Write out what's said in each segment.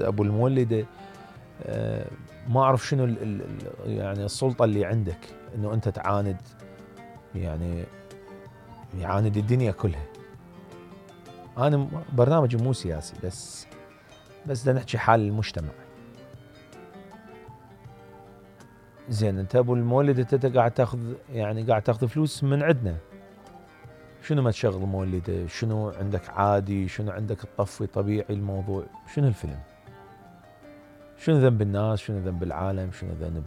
ابو المولده ما اعرف شنو يعني السلطه اللي عندك انه انت تعاند، يعني يعاند الدنيا كلها. انا برنامجي مو سياسي، بس بدنا نحكي حال المجتمع. زين انت ابو المولده انت قاعد تاخذ فلوس من عندنا. شنو ما تشغل مولده؟ شنو عندك عادي؟ شنو عندك تطفي طبيعي الموضوع؟ شنو الفيلم؟ شنو ذنب الناس؟ شنو ذنب العالم؟ شنو ذنب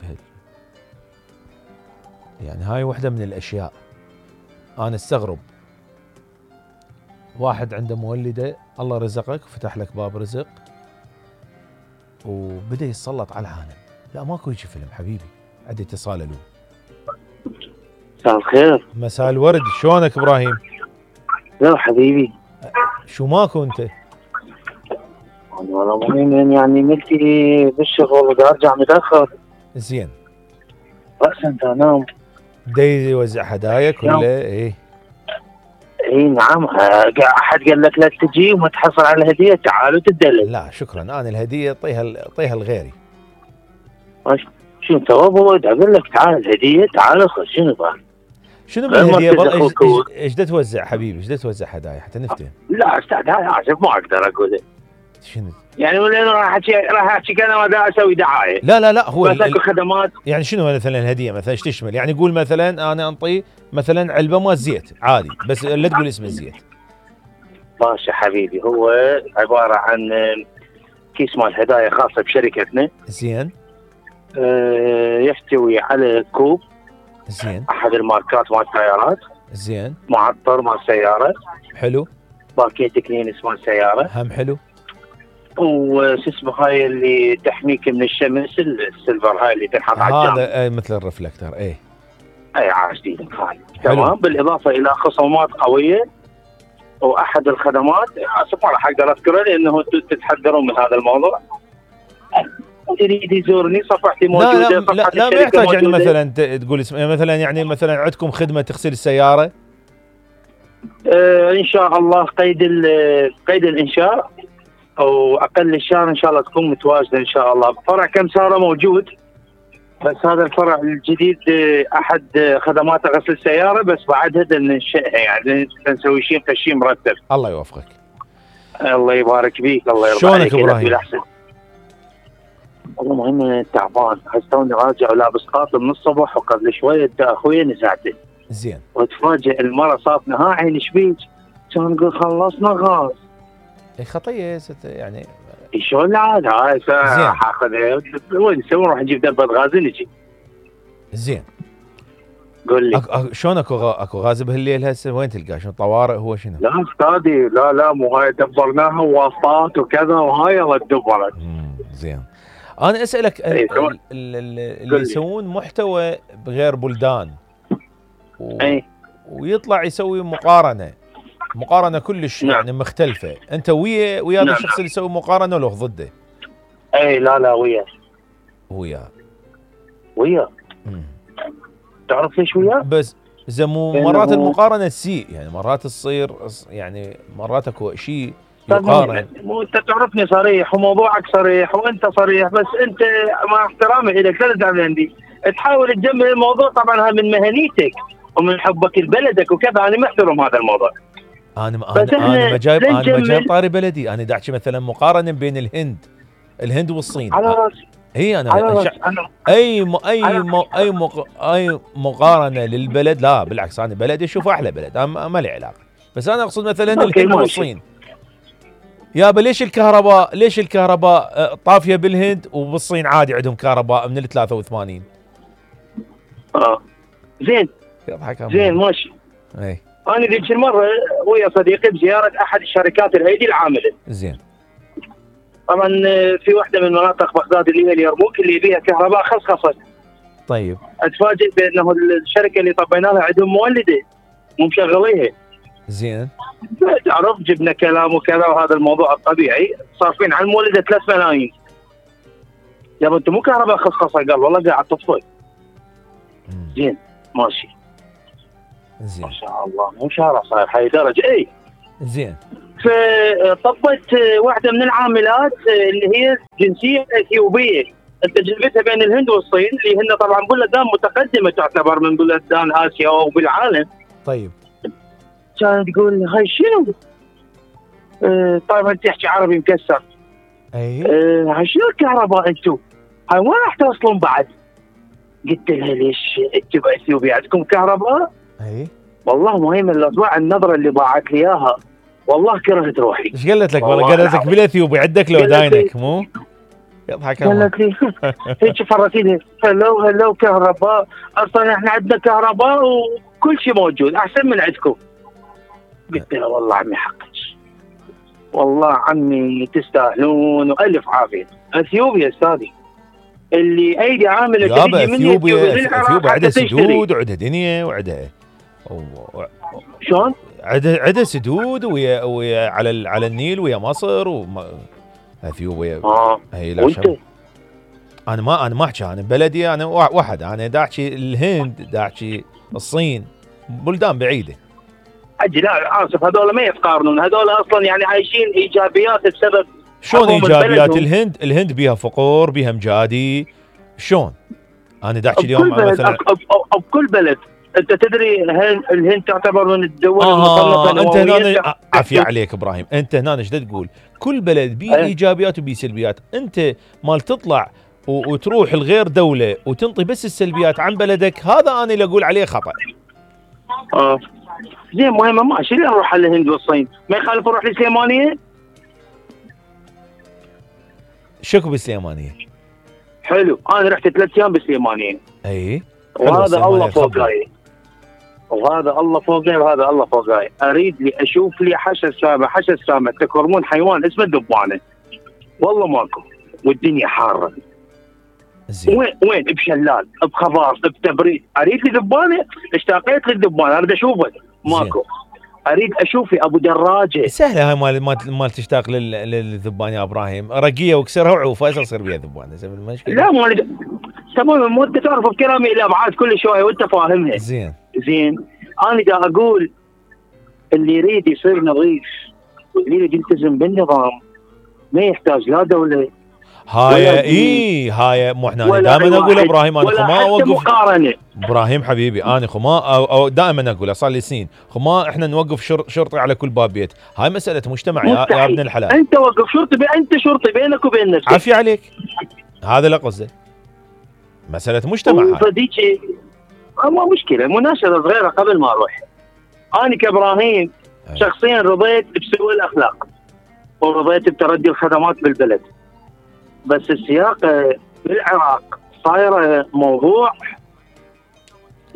يعني هاي وحده من الاشياء. انا استغرب واحد عنده مولده، الله رزقك فتح لك باب رزق وبدأ يتسلط على العالم. لا ماكو يجي فيلم حبيبي. عندي اتصال. الو. مساء الخير. مساء الورد. شلونك ابراهيم؟ لا حبيبي. شو ماكو انت؟ والله مهم يعني ملتي بالشغل ودا ارجع متاخر. زين. رأسا انت انام. داي يوزع هدايا ولا ايه؟ اي نعم. احد قال لك لا تجي وما تحصل على الهديه؟ تعال وتدلل. لا شكرا، انا الهديه طيها لغيري. شو انت ابو اقول لك تعال الهديه، تعال خذ. شنو بقى؟ شنو بالهديه؟ ايش دا توزع حبيبي؟ ايش دا توزع هدايا حتى نفتهم؟ لا استاذ هاي عجب ما اقدر اقول. شنو يعني ولا راح احكي كلام دا اسوي دعايه؟ لا هو خدمات. يعني شنو مثلا الهديه مثلا ايش تشمل؟ يعني قول مثلا انا انطي مثلا علبه مال زيت عادي، بس لا تقول اسم الزيت. ماشي حبيبي. هو عباره عن كيس مال هدايا خاصه بشركتنا. زين. يحتوي على كوب. زين. احد الماركات مال السيارات. زين. معطر مال سياره. حلو. باكيت كلينس مال سياره. هم حلو. وش اسمه هاي اللي تحميك من الشمس، السيلفر هاي اللي تنحط على الجام. هذا مثل الرفلكتر. اي عاش دينك هاي. تمام. بالاضافه الى خصومات قويه. واحد الخدمات ما راح اقدر اذكره لانه تتحذرون من هذا الموضوع. يريد يزورني صفحتي موجوده. لا ما يحتاج يعني مثلا تقول اسم، مثلا يعني مثلا عندكم خدمه تغسل السياره. ان شاء الله قيد الانشاء او اقل الشهر ان شاء الله تكون متواجده ان شاء الله. فرع كمساره موجود، بس هذا الفرع الجديد احد خدمات غسل السياره، بس بعدها ننشئها يعني نسوي شيء تشيء مرتب. الله يوفقك. الله يبارك فيك. الله يرضى عليك. شلونك ابراهيم؟ والله مهم تعبان. حسوني راجع ولابس قاطع من الصبح، وقبل شويه اخوي نزعته. زين. وتفاجئ المره صابنا ها عين ايش بيك؟ كان نقول خلصنا غاز. اي خطيه يعني. شلون العاد هاي حاخذها وين نسوي؟ نروح نجيب دبه غاز نجي. زين. قول لي شلون اكو غاز بهالليل هسه؟ وين تلقاه؟ شنو طوارئ هو شنو؟ لا استاذي لا مو هاي دبرناها واسطات وكذا وهاي الله دبرت. زين. انا اسالك اللي يسوون محتوى بغير بلدان ويطلع يسوي مقارنه كلش يعني مختلفه، انت ويا هذا الشخص اللي يسوي مقارنه ولا ضده؟ لا ويا. تعرف ليش وياه؟ بس اذا مرات المقارنه تسيء، يعني مرات تصير يعني مرات اكو شيء يقارن. انت تعرفني صريح وموضوعك صريح وانت صريح، بس انت مع احترامي لك لا تزعل عندي تحاول تجمل الموضوع. طبعا هذا من مهنيتك ومن حبك لبلدك وكذا، انا محترم هذا الموضوع. انا ما جايب طاري بلدي، انا داعي مثلا مقارنه بين الهند والصين. على راسي. هي اي مقارنه للبلد، لا بالعكس انا بلدي اشوف احلى بلد، ما لي علاقه. بس انا اقصد مثلا الهند والصين. يابا ليش الكهرباء طافيه بالهند وبالصين عادي عندهم كهرباء من ال 83؟ زين ماشي. انا ذيك المره ويا صديقي بزياره احد الشركات الايدي العامله. زين. طبعا في واحده من مناطق بغداد اللي هي اليرموك اللي بيها كهرباء خصخصت. طيب. اتفاجئ بانه الشركه اللي طبينا لها عندهم مولده مو مشغليها. زين. تعرف جبنا كلام وكذا، وهذا الموضوع الطبيعي صارفين على المولده 3 ملايين. يابا انت مو كهرباء خصخصه؟ قال والله قاعد تطفي. زين ماشي. زين. ما شاء الله مو شارع صاير هاي درجه. زين. فطبت واحده من العاملات اللي هي جنسيه اثيوبيه، انت جذبتها بين الهند والصين اللي هن طبعا بلدان متقدمه تعتبر من بلدان اسيا وبالعالم. طيب كانت تقول هاي شنو؟ طبعا تحكي عربي مكسر. اي هاي شنو الكهرباء انتم؟ هاي وين راح توصلون بعد؟ قلت لها ليش انتم باثيوبيا عندكم كهرباء؟ اي والله مهم الاصبع النظره اللي ضاعت لي اياها، والله كرهت روحي. ايش قالت لك؟ والله والله قالت لك بالاثيوبي عندك لو داينك مو؟ يضحك الله. قالت لي هيك فرتيني هلو كهرباء، اصلا احنا عندنا كهرباء وكل شيء موجود احسن من عندكم. قلت لها والله عمي حقك، والله عمي تستاهلون والف عافيه. اثيوبيا استاذي اللي ايدي عامله يابا اثيوبيا عندها سدود وعندها دنيا وعندها شلون؟ عندها سدود ويا على النيل ويا مصر اثيوبيا. هي لا شم. انا ما احكي انا بلدي، انا واحد، انا دا احكي الهند، دا احكي الصين، بلدان بعيده. اجي لا اسف، هذول ما يتقارنون، هذول اصلا يعني عايشين ايجابيات بسبب. شلون ايجابيات؟ الهند بيها فقور، بيها مجادي، شلون؟ انا دا احكي اليوم مثلا بكل بلد. انت تدري الهند تعتبر من الدول المصنفه انت هنا عافيه عليك ابراهيم، انت هنا ايش تقول؟ كل بلد بيه ايجابيات وبيه سلبيات، انت مال تطلع وتروح لغير دوله وتنطي بس السلبيات عن بلدك، هذا انا اللي اقول عليه خطا. زين مهمه ماشي، ليه نروح على الهند والصين؟ ما يخالف نروح للسليمانيه؟ شكو بالسليمانيه؟ حلو، انا رحت 3 ايام بالسليمانيه. اي وهذا الله فوقاي، وهذا الله فوقاي، وهذا الله فوقاي. اريد لي اشوف لي حشى سامه تكرمون حيوان اسمه الدبانه، والله ماكو، والدنيا حاره. وين بشلال، بخضار، بتبريد. اريد لي دبانه، اشتاقيت للدبانه، اريد اشوفه، ماكو. اريد اشوف ابو دراجه. سهله هاي مال تشتاق للذبان يا ابراهيم، رقيه واكسرها وعوفه يصير بيها ذبانه. المشكله لا تمام، مو انت تعرف بكلامي الابعاد كل شويه وانت فاهمها. زين انا دا اقول اللي يريد يصير نظيف واللي يريد يلتزم بالنظام ما يحتاج لا دوله. هاي مو احنا دائما اقول ابراهيم، انا ما اوقف مقارنه. ابراهيم حبيبي، انا أو دائما اقول، صار لي سنين ما احنا نوقف شرطي على كل باب بيت. هاي مساله مجتمع يا ابن الحلال. انت وقف شرطي، انت شرطي بينك وبين نفسك. عافيه عليك، هذا اللي قصده، مساله مجتمع. فديك ما مشكله، مناشده صغيره قبل ما اروح. انا كابراهيم شخصيا رضيت بسوء الاخلاق ورضيت بتردي الخدمات بالبلد، بس السياق بالعراق صايره موضوع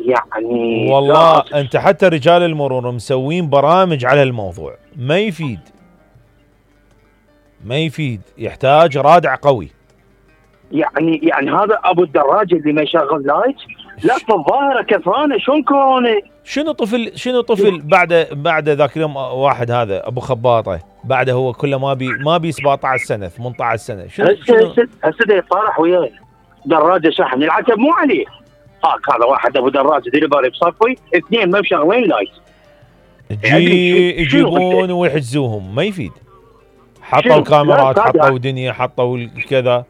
يعني والله. انت حتى رجال المرور مسوين برامج على الموضوع، ما يفيد، يحتاج رادع قوي. يعني هذا ابو الدراجه اللي ما يشغل لايت، لا في الظاهره كثرانه. شلون كورونا؟ شنو طفل بعد ذاك اليوم، واحد هذا ابو خباطه، بعده هو كله ما بي 17 سنه 18 سنه. هسه يطارح وياي دراجه شحن، العتب مو عليه. هذا واحد ابو دراجه ديليفري بصفي، 2 ما مشغلين لايت، يجيبون ويحجزوهم، ما يفيد. حطوا الكاميرات، حطوا دنيا، حطوا كذا.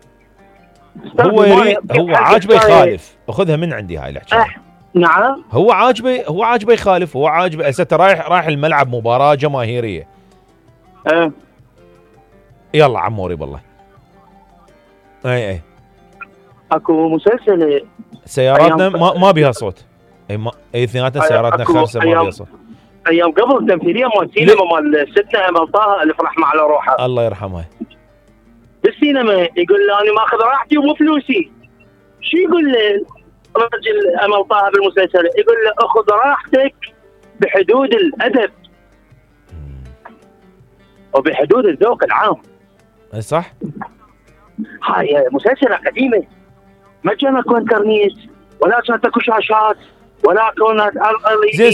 هو عاجبه يخالف، اخذها من عندي هاي الحكايه. نعم، هو عاجبه يخالف، هو عاجبه. هسه رايح الملعب، مباراه جماهيريه. يلا عموري بالله. اي اكو مسلسل سياراتنا ما بيها صوت. اي اثنيناتنا سياراتنا خالصه ما بيها صوت. ايام قبل التمثيليه مال السينما مال ستنا امل طه الف رحمه على روحها، الله يرحمها، بالسينما يقول له انا ماخذ راحتي ومو فلوسي. شو يقول له رجل امل طه بالمسلسل؟ يقول له اخذ راحتك بحدود الادب وبحدود الذوق العام. اي صح. هاي مسلسلة قديمة، ما كان اكو انترنت ولا كانت اكو شاشات ولا كانت زين.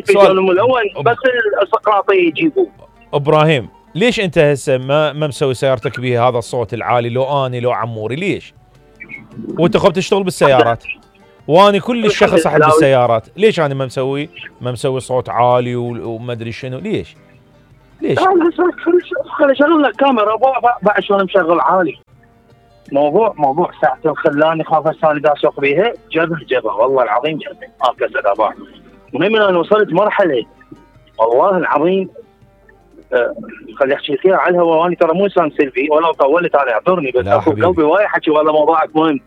سؤال ملون، بس السقراطية يجيبوه. ابراهيم، ليش انت هسه ما مسوي سيارتك بها هذا الصوت العالي؟ لو اني لو عموري ليش؟ وانت خب تشتغل بالسيارات واني كل الشخص احب السيارات، ليش انا ما مسوي صوت عالي وما ادري شنو؟ ليش؟ ليش؟ خلي شغل لك كاميرا بعد شلون مشغل عالي. موضوع ساعتين خلاني خاف هسه انا اسوق بيها جبه والله العظيم جبه كسر اباع. المهم انا وصلت مرحله والله العظيم خلي احكي فيها على الهواء، وانا ترى مو انسان سلبي ولا طولت انا اعذرني، بس اكو قلبي وايد حكي والله موضوعك مهم.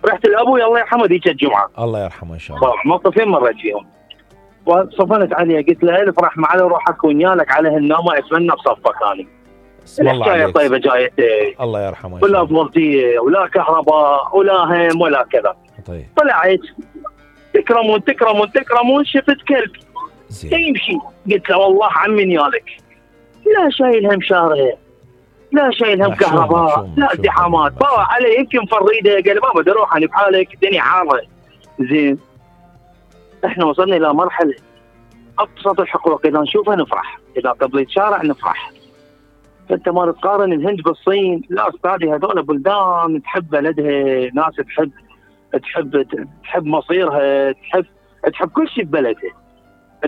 رحت لابوي الله يرحمه ذيك الجمعه الله يرحمه ان شاء الله. موقفين مريت فيهم وصفنت عليه قلت له الف رحمه على روحك ويالك على هالنومه اتمنى بصفك ثاني. الحكايه طيبه جايتك الله يرحمه ولا فولتيه ولا كهرباء ولا هم ولا كذا. طيب طلعت تكرمون شفت كلب يمشي قلت له والله عمي نيالك لا شايل هم شارع لا شايل هم كهرباء لا ازدحامات باوع علي يمكن فريده قال بابا بدي اروح انا بحالك الدنيا حاره. زين احنا وصلنا الى مرحله ابسط الحقوق اذا نشوفها نفرح، اذا قبلت شارع نفرح. فانت ما تقارن الهند بالصين، لا استاذي هذول بلدان تحب بلدها، ناس تحب مصيرها، تحب كل شيء ببلدها،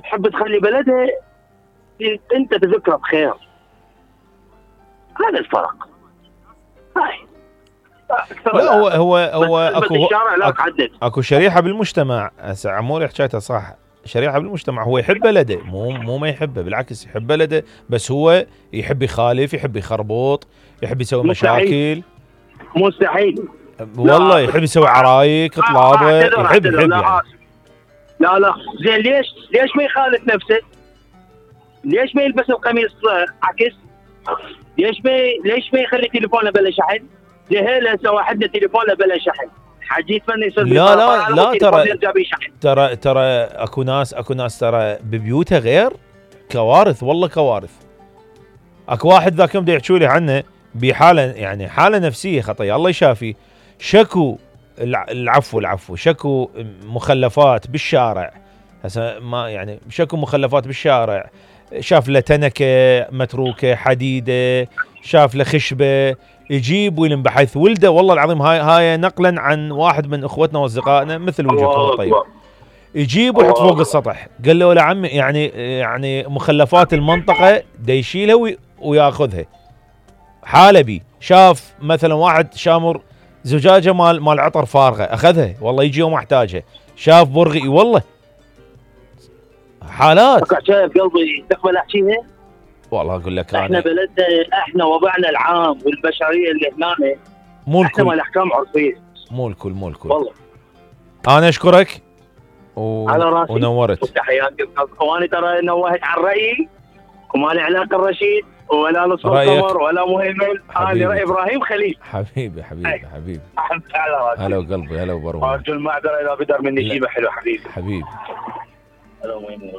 تحب تخلي بلدها انت تذكره بخير. هذا الفرق. هاي لا هو اكو شريحه بالمجتمع هسه عموري حكيتها صح. شريحه بالمجتمع هو يحب بلده، مو ما يحبه، بالعكس يحب بلده، بس هو يحب يخالف، يحب يخربط، يحب يسوي مشاكل. مستحيل والله يحب يسوي عرايك طلابه يحب يعني. لا زين ليش ما يخالف نفسه؟ ليش ما يلبس القميص عكس؟ ليش ما يخلي تليفونه بلا شحن؟ لهلا هسه واحدنا تليفونه بلا شحن، حاجي يتمنى يصير لا ترى اكو ناس ترى ببيوتها غير كوارث، والله كوارث. اكو واحد ذاك يوم يحكوا لي عنه بحاله يعني حاله نفسيه خطيه الله يشافي، شكو العفو شكو مخلفات بالشارع. هسه ما يعني شكو مخلفات بالشارع، شاف له تنكه متروكه حديده، شاف له خشبه، يجيب ويلم بحيث ولده. والله العظيم هاي نقلا عن واحد من اخوتنا واصدقائنا مثل وجهكم الطيب، يجيب ويحط فوق السطح. قال له ولا عمي يعني مخلفات المنطقه دا يشيلها وياخذها. حالبي شاف مثلا واحد شامر زجاجه مال عطر فارغه اخذها، والله يجي يوم احتاجها. شاف برغي والله حالات. شايف قلبي تقبل احكيها؟ والله اقول لك احنا بلدنا، احنا وضعنا العام والبشريه اللي هنا مو الكل، احنا الاحكام عرفيه مو الكل والله. انا اشكرك على راسي ونورت وتحياتي. وانا ترى نوهت عن رايي وما لي علاقه الرشيد ولا نصر القمر ولا مهيمن. انا راي ابراهيم خليل. حبيبي على راسي. هلا وقلبي هلا وبروح. ارجو المعذره اذا بدر مني شيء حلو حبيبي. هلا مهيمن.